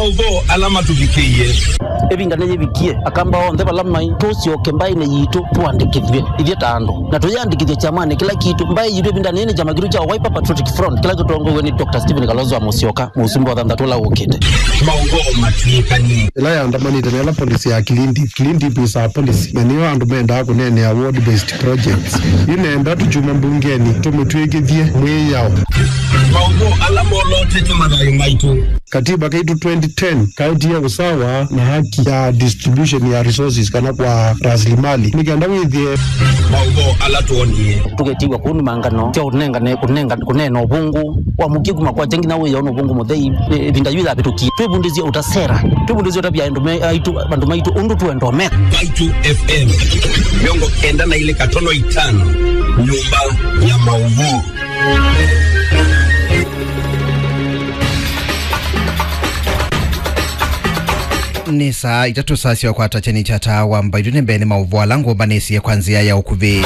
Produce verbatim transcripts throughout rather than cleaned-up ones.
Maũvoo ala matũvikĩie. Ĩvinda nĩyĩvikie, Akamba onthe vala maĩ, tũsyoke mbaĩnĩ yitũ tũandĩkĩthw'e ithyĩ ta andũ, na tũyĩandĩkĩthye kyamanĩ kĩla kitũ. Mbaĩ yitũ ĩvindanĩ yĩĩ nĩ kyama kitũ kya Wiper Patriotic Front kĩla kĩtongoew'e nĩ Doctor Stephen Kalonzo wa Musyoka, mũsumbĩ wa thanthatũ ũla ũkĩte. Maũvoo matw'ĩkanie. Ĩla yaandamanĩte na ĩla policy ya clean dip. Clean dip is our policy, na nĩyo andũ mendaa kũneenea ward based projects. Yu nenda tũkyuma mbungenĩ tũmĩtw'ĩkĩthye mwĩao. Maũvoo ala molotete mathayũ maitũ. Katiba kaitũ twenty ten kaetie usawa na haki ya distribution ya resources kana kwa rasilimali. Nĩ kenda wĩthĩe. Maũvoo ala twonie. Tũketiwa kũu nĩ mangano sya ũnengane, kũnenga, kũneena ũvũngũ wa mũkie kuma kwa kyengi na wĩya ũna ũvũngũ mũthei. Ĩ-, ĩvinda yu yavĩtũkie. Twĩvundĩsye ũta sera. Twĩvundĩsye ũtavya andũ me-, aitũ, andũ maitũ ũndũ twenda ũmeka. Mbaitũ F M, mĩongo kenda na ilĩ katono itano, nyũmba ya maũvoo. Nĩ saa itatũ, saa sya ũkwata kyeni kya taa wa Mbaitũ. Nĩ mbee nĩ maũvoo ala ngũmbanĩsye kwa nzĩa ya ũkuvĩ.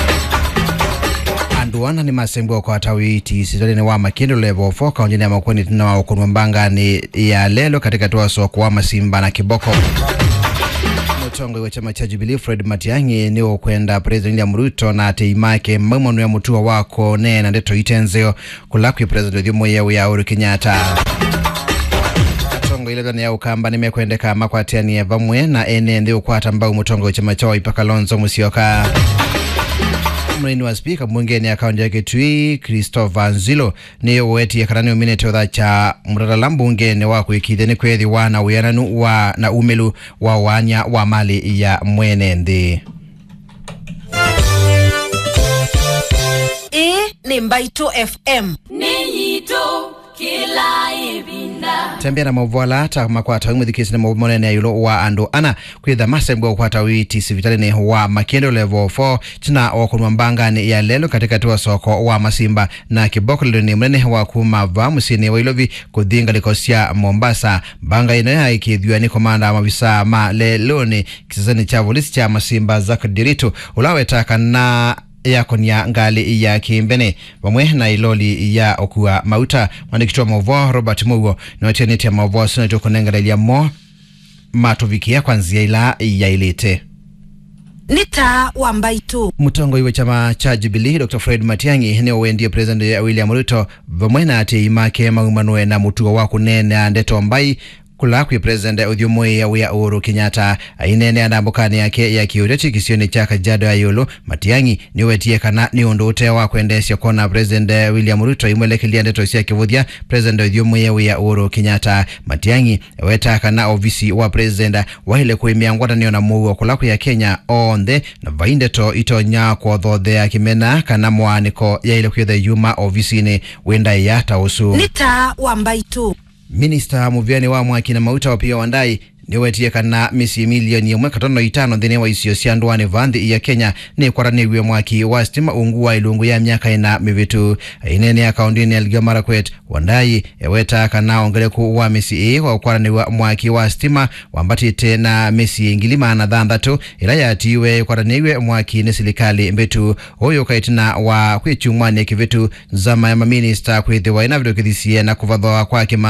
Andũ ana nĩmasembwa ũkwata ũiiti sivitalĩnĩ wa Makĩndũ level four kaũntĩnĩ ya Makueni ĩtina wa ũkũnwa mbanganĩ ya lelũ katĩkatĩ wa soko wa Masimba na Kĩboko. Mũtongoi wa kyama kya Jubilee Fred Matiang'i nĩũkwenda President William Ruto na atei make maumanw'e mũtuo wa kũneena ndeto ite nzeo kũla kwĩ President ũthyũmũĩe wĩa Uhuru Kenyatta. Atongoi ĩla ĩthanĩ ya Ũkamba nĩmekwendeka makwatĩanĩe vamwe na ene nthĩ ũkwata mbau mũtongoi wa kyama kya Wiper Kalonzo Musyoka. Mũnini wa spika mbungenĩ ya kaũntĩ ya Kitui, Christopher Nzilo, nĩwetie kana nĩũminĩte ũthakya mũtatala mbungenĩ wa kũĩkĩĩthya nĩkwĩthĩwa na wĩananu wa na umĩlu wa ũaany'a wa malĩ ya mwene nthĩ. Ĩĩ nĩ Mbaitũ F M. Nĩ yitũ kĩla ĩvinda. Tembea na maũvoo ala ta makwata ũimũthikĩsye nĩ maũvoo manene ĩũlũ wa andũ ana kwĩtha masembwa ũkwata ũiiti sivitalĩnĩ wa Makĩndũ level four, tina wa kũnwa mbanganĩ ya lelũ katĩkatĩ wa soko wa Masimba na Kĩboko lelũnĩ mũnene wa kuma va mũsyĩnĩ wa Ilovi kũthi ngalĩko sya Mombasa. Mbanga ĩno yaĩkĩĩthw'a nĩ komanda wa mavisa ma lelũnĩ kĩsesenĩ kya volisi kya Masimba, Zack Ndiritu, ũla wetaa kana yakonia ngalĩ ya kĩmbene vamwe na ĩloli ya ũkua mauta. Mwandĩki wa maũvoo Robert Mũuo nĩwatianĩtye maũvoo asu na tũkũnenganĩlya mo matũvikĩa kwa nzĩa ĩla yaĩlĩte. Nĩ taa wa Mbaitũ. Mũtongoi wa kyama kya Jubilee, Doctor Fred Matiang'i, nĩwendie President William Ruto vamwe na atĩĩi make maumanwe na mũtuo wa kũneenea ndeto mbai kũla kwĩ President ũthyũmũĩe wĩa Uhuru Kenyatta. Aineenea ndambũkanĩ yake ya kĩũteti kĩsionĩ kya Kajiado ya ĩũlũ, Matiang'i nĩwetie kana nĩ ũndũ ũte wa kwendeesya kwona President William Ruto aimwelekelya ndeto sya kĩvũthya President ũthyũmũĩe wĩa Uhuru Kenyatta. Matiang'i ewetaa kana ovisi wa President waĩle kũĩmĩa ngwatanĩo na mũuo kũla kwĩ Akenya onthe, na vai ndeto itonya kũthothea kĩmena kana mwaanĩko yaĩle kwĩthwa yuma ovisinĩ wĩ ndaĩa ta ũsu. Nĩ taa wa Mbaitũ. Minista mũvĩanĩ wa mwaki na mauta Opiyo Wandayi nĩwetie kana mĩsyĩ milioni ĩmwe katono itano nthĩnĩ wa isio sya ndũanĩ va nthĩ ya Kenya nĩkwatanĩw'e mwaki wa sitima ungu wa ĩlungu ya myaka ĩna mĩvĩtu. Aineenea kaũndĩnĩ ya Elgeyo Marakwet, Wandayi ewetaa kana wongeleku wa mĩsyĩ ĩĩ wa ũkwatanĩw'a mwaki wa sitima wambatĩte na mĩsyĩ ngili maana thanthatũ ĩla yatiiwe ĩkwatanĩw'e mwaki nĩ silikalĩ mbĩtu. Ũyũ ũka ĩtina wa kwĩ kyumwanĩ kĩvĩtu nzama ya maminista kwĩthĩwa ĩnavĩtũkĩthisye na kũvathwa kwa kĩma